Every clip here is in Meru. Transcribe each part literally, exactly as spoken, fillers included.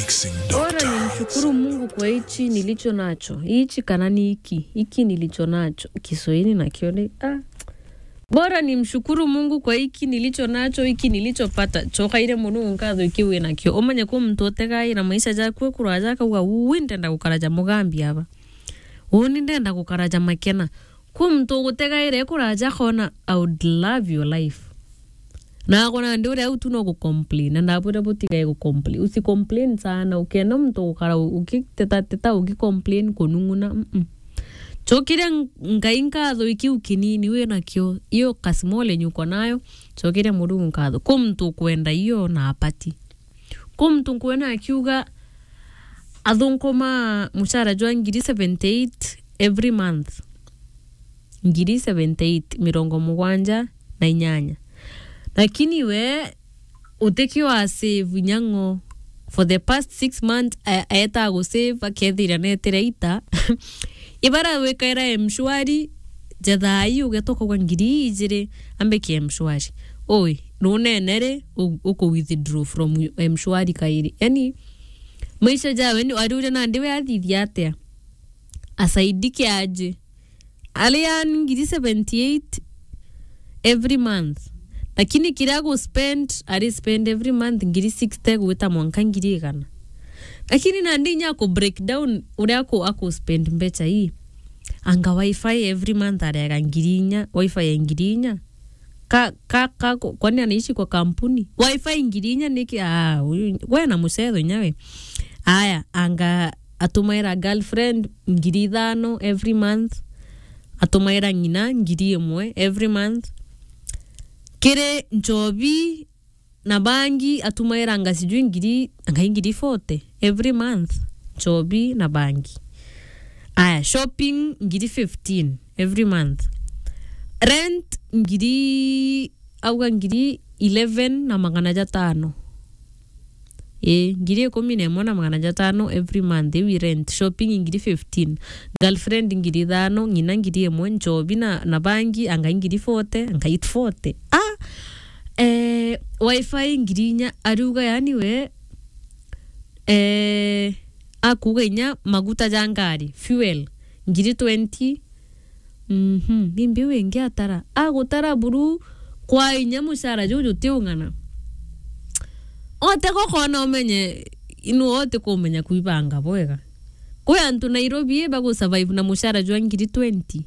Bora nimshukuru Mungu kwa hichi nilicho nacho. Hichi kana ni hiki, hiki nilicho nacho. Kiswahili nakio ni, ah. Bora nimshukuru Mungu kwa hiki nilicho nacho, hiki nilichopata. Cokaire Murungu nkatho iki wi nakio. Umenye kwi muntu utegaira maisha jaku ekuraja akauga, "Ui, ndenda gukara ja mugambi aba. Uni ndenda gukara ja makena." Kwi muntu ugutegaira ekuraja akona, "I would love your life." Na akona ndi uria au tu no gucomplain. Na ndabwira butigae gucomplain. Usicomplain sana. Ukenda muntu gukara u-, ukiteta teta ukicomplain kunung'una. Mm-mm. Cokiria Ng-, Ngai nkatho ikiu kinini wi nakio. Iyo kasimole nyuko nayo. Cokiria Murungu nkatho. Kwi muntu ukwenda iyo na apati. Kwi muntu nkwona akiuga athunkuma mucara jwa ngiri seventy eight every month. Ngiri seventy eight, mirongo mugwanja na inyanya. Lakini we utikio a save nyang'o for the past six months, a-, aeta gu save akethira netire ita. Ibara wikaira M-Shwari, ja thaa ii ugeta ukauga ngiri ijiri, ambike M-Shwari. Oi, runene ri, u-, uku withdraw from M-Shwari kairi. Yani, maisha jawe ni, ari uria nandi we athithia atia? Asaidike aje. Ari yani ngiri seventy eight every month. Lakini kiria agu spend, ari spend every month ngiri sixty gwita mwanka ngiri igana. Lakini nandi inya aku break down uria aku, aku spend mbecha ii. Anga wifi every month arega ngiri inya, wifi ya ngiri inya. Ka, ka, ka, kwani anaishi kwa kampuni? Wifi ngiri inya niki? Ah, uyu, we na mucetho inya we. Aya, anga atumaira girlfriend ngiri ithano every month. Atumaira ng'ina ngiri imwe every month. Kiri nchobi na bangi atumairanga sijui ngiri, ngai ngiri forty every month, nchobi na bangi. Aya, shopping ngiri fifteen every month. Rent ngiri, auga ngiri eleven na magana jatano. Ii, ngiri ikumi na imwe na magana jatano every month, iu i rent. Shopping ngiri fifteen. Girlfriend ngiri ithano, ng'ina ngiri imwe, nchobi na, na bangi, angai ngiri forty, angai forty. Ah! Eh, wifi ngiri inya, ariuga yani we, eh, akuuga inya maguta ja ngari, fuel, ngiri twenty. Mhm, ni mbiu ingi atara. Agutara buru kwa inya mucara juu jutiung'ana. Ote gokona umenye, inu ote kumenya kuibanga bwega. Kwi antu Nairobi bagu survive na mucara jwa ngiri twenty.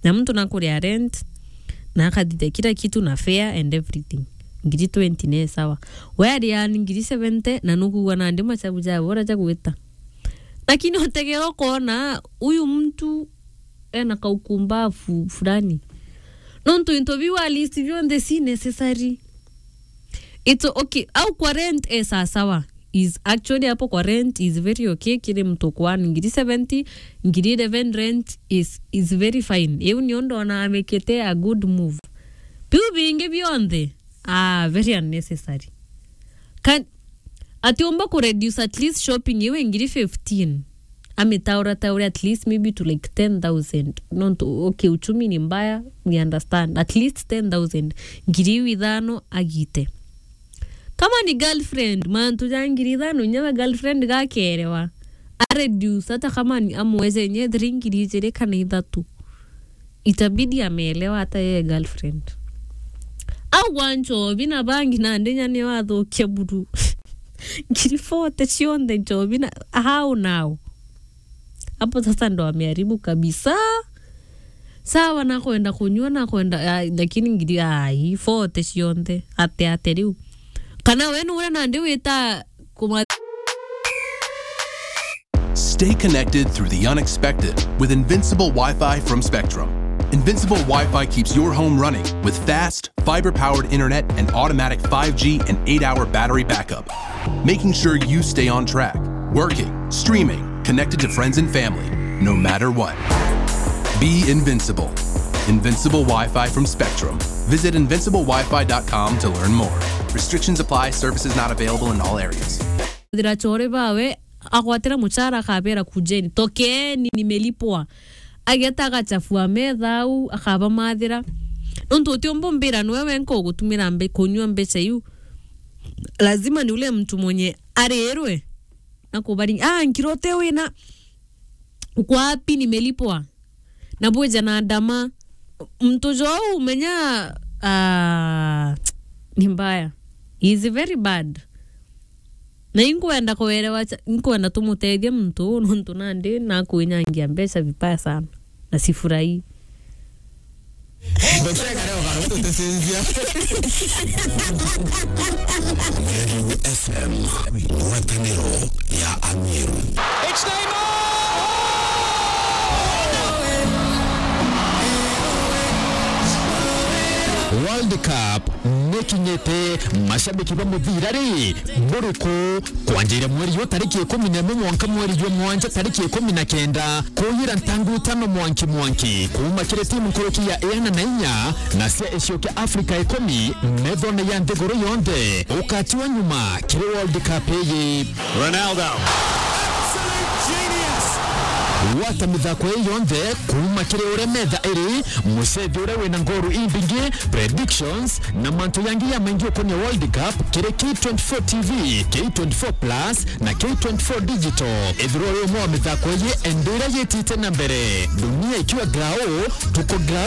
Na muntu nakuria rent, na akathithia kila kitu na fare and everything. Ngiri twenty ni sawa. We ari yani ngiri seventy, na nukugua nandi machabu ja bora ja gwita. Lakini utegera ukona, uyu muntu ena kaukumbavu fulani. Nontu into biu a list bionthe si necessary. It's okay. Au kwa rent e sasawa. Is actually hapo kwa rent is very okay. Kiri mtu kwa ngiri seventy, ngiri eleven rent is, is very fine. Iu nio ndona amekete a good move. Biu bingi bionthe, ah, very unnecessary. Kan-, atiumba ku reduce at least shopping iwe ngiri fifteen. Amitaura taura at least maybe to like ten thousand. Nontu, okay, uchumi ni mbaya, we understand. At least ten thousand. Ngiri iu ithano agite. Kama ni girlfriend, mantu ja ngiri ithano, nyawe girlfriend gakerewa. A reduce, hata kama ni amweze nye three ngiri ijiri kana ithatu. Itabidi ameelewa hata yeye girlfriend. Au gwa nchobi na bangi nandi nya ni wathukia buru. Ngiri forty cionthe nchobi na, how now? Hapo sasa ndo ameharibu kabisa. Sawa, nakwenda kunyua, nakwenda, ah, lakini ngiri, ai, forty cionthe. Ate, ate riu. Kana we ni uria nandi wita kuma- Stay connected through the unexpected with Invincible Wi-Fi from Spectrum. Invincible Wi-Fi keeps your home running with fast, fiber-powered internet and automatic five G and eight-hour battery backup, making sure you stay on track, working, streaming, connected to friends and family, no matter what. Be invincible. Invincible Wi-Fi from Spectrum. Visit invincible wi fi dot com to learn more. Restrictions apply. Services not available in all areas. Thira chore bawe, agwatira muchara akabera, "Kujeni, tokeni, nimelipwa." Ageta agachafua metha au, akabamathira. Nontu utiumba umbira niwe wenka ugutumira mbe-, kunyua mbecha iu. Lazima ni ule mtu mwenye arirwe. na kubaringa. Ah, nkirute wina, uko wapi, nimelipwa? Na bwija na ndama. Muntu jou umenya, ah, ni mbaya. He is very bad. Na inkwenda kuelewa cha-, inkwenda tumutethie muntu uu, nontu nandi nakwinyangia mbeca vibaya sana. Na sifurahii. Meru F M, ngwataniro ya Ameru. It's Neymar! World Cup nikinyite, mashabiki ba muthira ri, buriku? Kwanjira mweri jwa tariki ikumi na imwe mwanka mweri jwa mwanja tariki ikumi na kenda, kuyira ntangu itano mwanki mwanki, kuuma kiri timu nkuruki ya iana na inya na cia icio kia Afrika ikumi, methone ya nthiguru yonthe, ukatiwa nyuma kiri World Cup iyi. Ronaldo. Absolute genius. Gwata mithako ii yonthe, kuuma kiri uria metha iri, mucethi uria wina ngoru imbingi, predictions, na mantu yangi ya maingi ukonia World Cup kiri K twenty-four T V, K twenty-four Plus na K twenty-four Digital. Ethirwa uri umwe wa mithako iji, enda iria yitite na mbere. Dunia ikiwa grau, tuko grau.